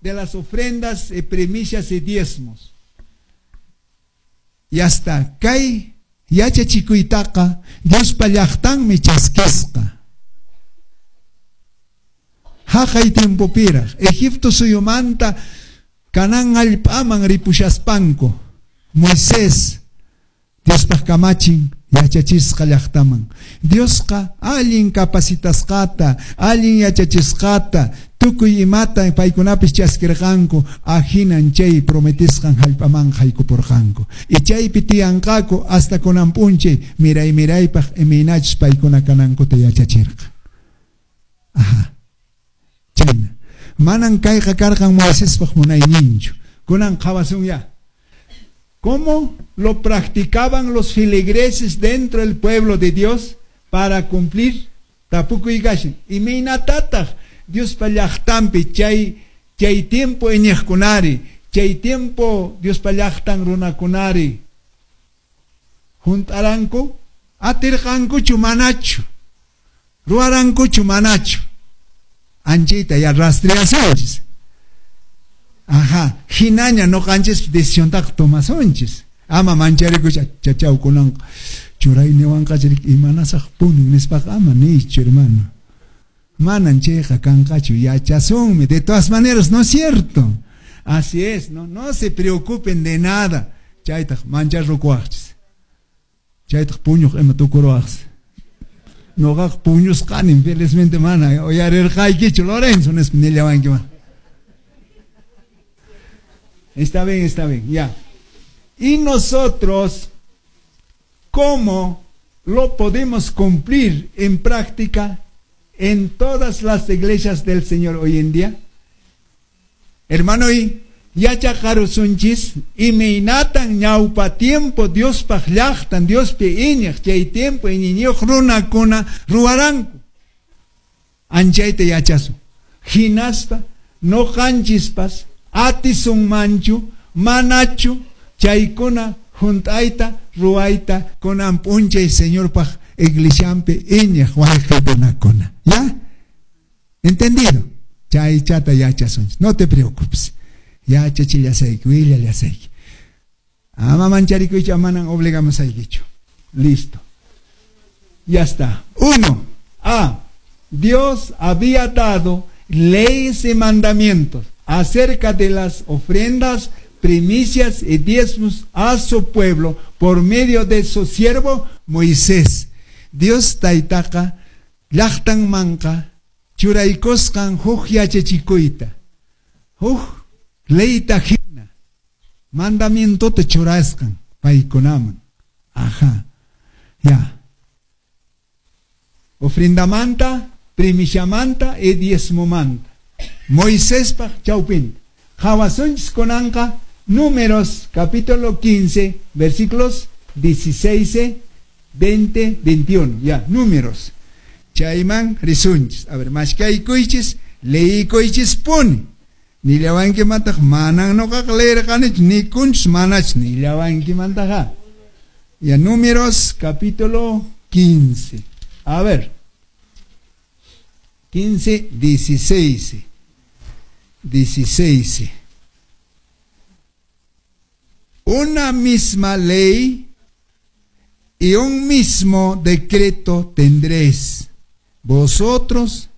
De las ofrendas y primicias y diezmos. Ya está. Kay yachachikuytaqa Diospa llaqtanmi chaskisqa. Haqay tiempopiraq Egipto suyumanta Canaán allp'aman ripushaspanku Moisés Diospaq kamachin yachachisqa llaqtaman. Diosqa allin capacitasqata, allin yachachisqata, tukuy imata paykunapis chaskirqanku, ahinan chay prometisqan hallp'aman haykupurqanku. Y chaypi tiyanqaku hasta kunan p'unchay miray miraypaq imaynachus paykuna kanankuta yachachirqa. Aha. Chayna. Manan kayqa karqan Moisespaq munayninchu. Kunan qhawasunya. ¿Cómo lo practicaban los feligreses dentro del pueblo de Dios para cumplir tapukuy kashan? Imaynatataq Diospa llaqtanpi chay tiempo iñiqkunari, chay tiempo Diospa llaqtan runakunari hunt'aranku? Atirqankuchu manachu? Ruwarankuchu manachu? Anchayta ya rastreasunchis. Ajá, hinaña noqanchis decisiontaqa tomasunchis. Ama mancharikucha chachaw kunanqa churayniwanqa imanasaq punin nispaqa ama niychu, hermano. Manan chayqa kanqachu, yachasunmi. De todas maneras, ¿no es cierto? Así es, no, no se preocupen de nada. Chaytaq mancharrukuwaqchis. Chaytaq puñuq ima tukuruwaqchis. Noqaqa puñusqanin, felizmente mana uyarirqaykichu, Lorenzo, nispa nillawankiman. Está bien, ya. Y nosotros, ¿cómo lo podemos cumplir en práctica en todas las iglesias del Señor hoy en día? Hermano, y yachaqarusunchis imaynatan ñawpa tiempo Diospaq llaqtan Diospi iñiq chay tiempo iñiñiyuq runakuna ruwaranku. Anchayta yachasun. Hinaspa noqanchispas atisunmanchu manachu chaykuna hunt'ayta ruwayta kunan p'unchay Señorpaq iglesianpi iñiq wayqikunakuna. ¿Ya? ¿Entendido? Chaychata yachasunchis. No te preocupes. Yachachillasayki, willallasayki. Ama mancharikuychu, manan obligamusaykichu. Listo. Ya está. 1. A. Dios había dado leyes y mandamientos acerca de las ofrendas, primicias y diezmos a su pueblo por medio de su siervo Moisés. Dios taytaqa llaqtanmanqa churaykusqan huk yachachikuyta, huk leyta hina mandamientota churasqan paykunaman. Ajá. Ya. Ofrendamanta, primiciamanta y diezmomanta. Moisespaq chawpinta. Qhawasunchis kunanqa Números capítulo 15, versículos 16, 20, 21. Ya, Números. Chayman risunchis. A ver, mashkaykuychis, leykuychis puni. Nillawankimantaq manan noqaqa leerqanichu, nikunchis manach nillawankimantaqa. Ya, Números capítulo 15. A ver. 15, 16. 16. Una misma ley y un mismo decreto tendréis vosotros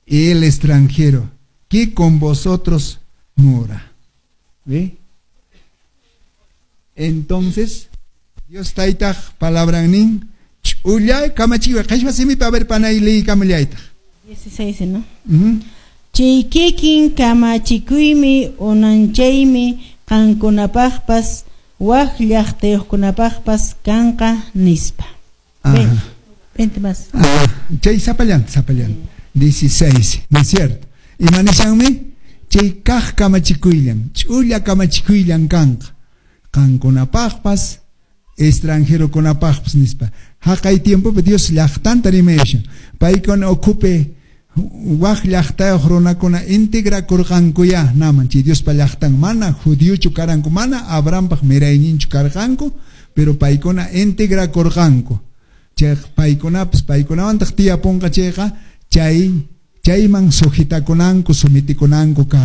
y el extranjero que con vosotros mora. ¿Ve? Entonces, Dios taytaq palabran nin ch'ulla kamachiwa qhichwa simipi a ver panay liykamullaytaq. 16, ¿no? Chay kikin kamachikuymi unanchaymi qankunapaqpas wak llaqtayuqkunapaqpas kanqa nispa. 20 más. Ah, chay sapallan, sapallan. 16, ¿no es cierto? Ima nishanmi? Chay kaq kamachikuyllan, ch'ulla kamachikuyllan kanqa. Qankunapaqpas, extranjerokunapaqpas nispa. Haqay tiempopi Dios llaqtanta rimayashan. Paykuna ukhupi wak llaqtayuq runakuna integrakurqankuya naman chay Diospa llaqtan mana judiochu karanku, mana Abrahampaq mirayninchu karqanku, pero paykuna integrakurqanku. Chay paykunapas paykunawantaq tiyapunqa chayqa chayman sujetakunanku, sometikunanku karqa.